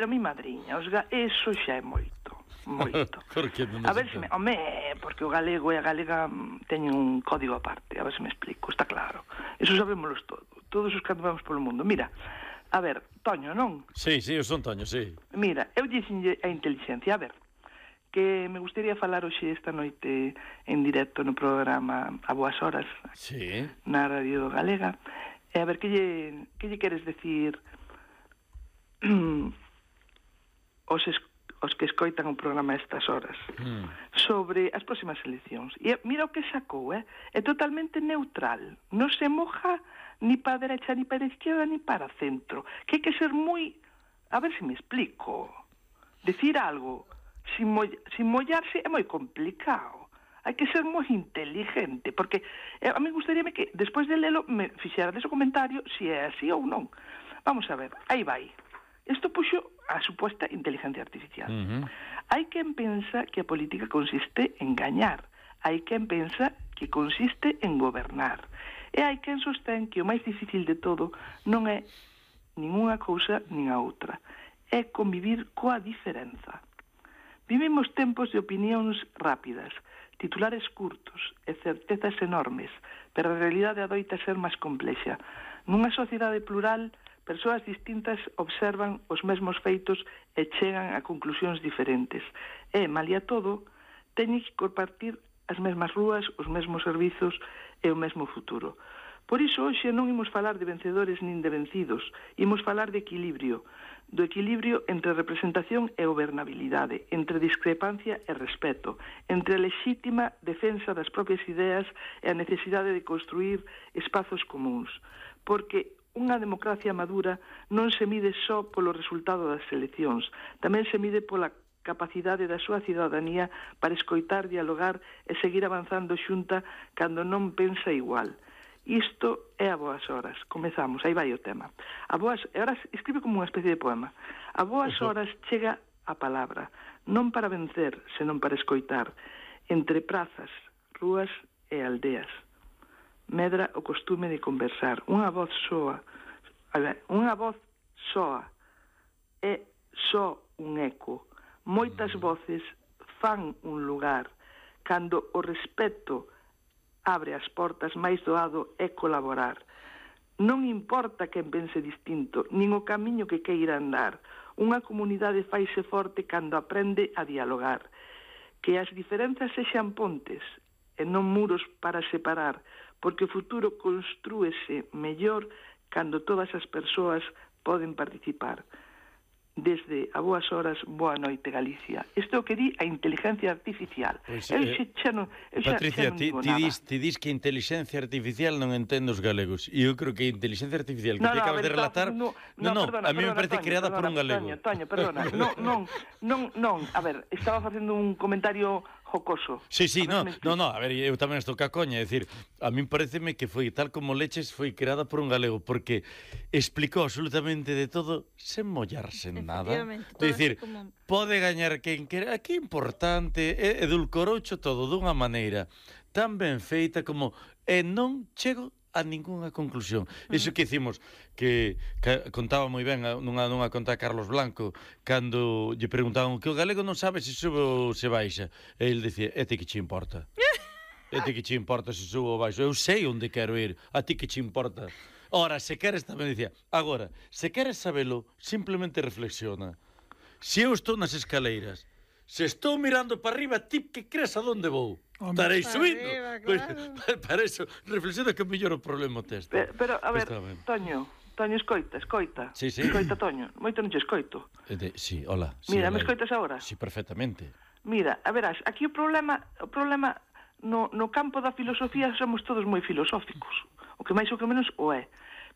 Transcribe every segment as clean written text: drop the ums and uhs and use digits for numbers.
a mi madriña, eso xa é moito. A ver se me... porque o galego e a galega teñen un código aparte, a ver se me explico, está claro. Eso sabémoslo todos os que andamos polo mundo. Mira, a ver, Toño, non? Sí, eu son Toño, sí. Mira, eu dixenlle a inteligencia, a ver, que me gustaría falar hoxe esta noite en directo no programa A Boas Horas, sí, na Radio Galega, e a ver, que lle queres decir os que escoitan o programa a estas horas sobre as próximas eleccións. E mira o que sacou, é totalmente neutral, non se moja ni para a derecha, ni para a izquierda, ni para o centro, que hai que ser moi... A ver se me explico. Decir algo sin mollarse é moi complicado. Hai que ser moi inteligente, porque a mí gustaríame que, despois de lelo, me fixera dese comentario se é así ou non. Vamos a ver, aí vai. Isto puxo a suposta inteligencia artificial. Hai quen pensa que a política consiste en gañar. Hai quen pensa que consiste en gobernar. E hai quen sostén que o máis difícil de todo non é ningunha cousa nin a outra. É convivir coa diferenza. Vivimos tempos de opinións rápidas, titulares curtos e certezas enormes, pero a realidade adoita ser máis complexa. Nunha sociedade plural, persoas distintas observan os mesmos feitos e chegan a conclusións diferentes. E, malia todo, teñen que compartir as mesmas rúas, os mesmos servizos e o mesmo futuro. Por iso, hoxe non imos falar de vencedores nin de vencidos, imos falar de equilibrio, do equilibrio entre representación e gobernabilidade, entre discrepancia e respeto, entre a lexítima defensa das propias ideas e a necesidade de construir espazos comuns. Porque unha democracia madura non se mide só polo resultado das eleccións, tamén se mide pola capacidade da súa cidadanía para escoitar, dialogar e seguir avanzando xunta cando non pensa igual. Isto é A Boas Horas. Comezamos, aí vai o tema. Ahora escribe como unha especie de poema. A Boas Horas chega a palabra, non para vencer, senón para escoitar, entre prazas, rúas e aldeas. Medra o costume de conversar. Unha voz soa é só un eco. Moitas voces fan un lugar. Cando o respeto abre as portas, máis doado é colaborar. Non importa quen pense distinto, nin o camiño que queira andar. Unha comunidade faise forte cando aprende a dialogar. Que as diferenzas sexan pontes e non muros para separar, porque o futuro construese mellor cando todas as persoas poden participar. Desde A Boas Horas, boa noite, Galicia. Isto é o que di a inteligencia artificial. Pois, Patricia, ti dis que a inteligencia artificial non entende os galegos. E eu creo que a inteligencia artificial que te acabas de relatar... a mí me parece creada por un galego. Toño, perdona. Non, a ver, estaba facendo un comentario jocoso. Sí, a ver, eu tamén estou ca coña, é dicir, a min pareceme que foi tal como leches, foi creada por un galego, porque explicou absolutamente de todo sen mollarse en nada. É dicir, pode gañar quen quera, que importante, edulcoroucho todo dunha maneira tan ben feita como non chego a ningunha conclusión. Iso que hicimos, que contaba moi ben nunha conta de Carlos Blanco, cando lle preguntaban que o galego non sabe se sube ou se baixa, e ele dicía, e ti que che importa? E ti que che importa se sube ou baixo? Eu sei onde quero ir, a ti que che importa? Ora, se queres, tamén dicía, agora, se queres sabelo, simplemente reflexiona. Se eu estou nas escaleiras, se estou mirando para arriba, ti que crees a donde vou? Estarei subindo. Claro. Para iso, reflexiona que mellor o problema teste. Pero, a ver, Toño, escoita. Sí. Escoita, Toño. Moito non che escoito. Sí, hola. Mira, me escoitas agora? Sí, perfectamente. Mira, a verás, aquí o problema no campo da filosofía somos todos moi filosóficos. O que máis ou que menos o é.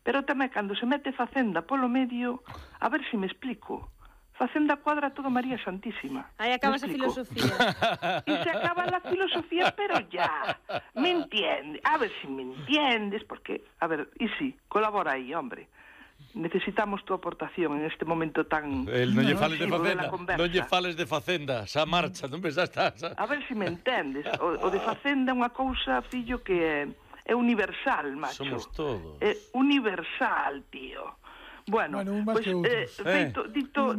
Pero tamén cando se mete Facenda polo medio, a ver se me explico. Facenda cuadra todo María Santísima. Aí acabas a filosofía. E se acaba la filosofía, pero ya. Me entiendes? A ver si me entiendes, porque, a ver, y sí, colabora aí, hombre. Necesitamos tu aportación en este momento tan... Non lle fales de Facenda, non lle fales de Facenda, xa marcha, non ves, xa. A ver si me entendes. O de Facenda é unha cousa, fillo, que é universal, macho. Somos todos. É universal, tío. Bueno, un máis que outros. Dito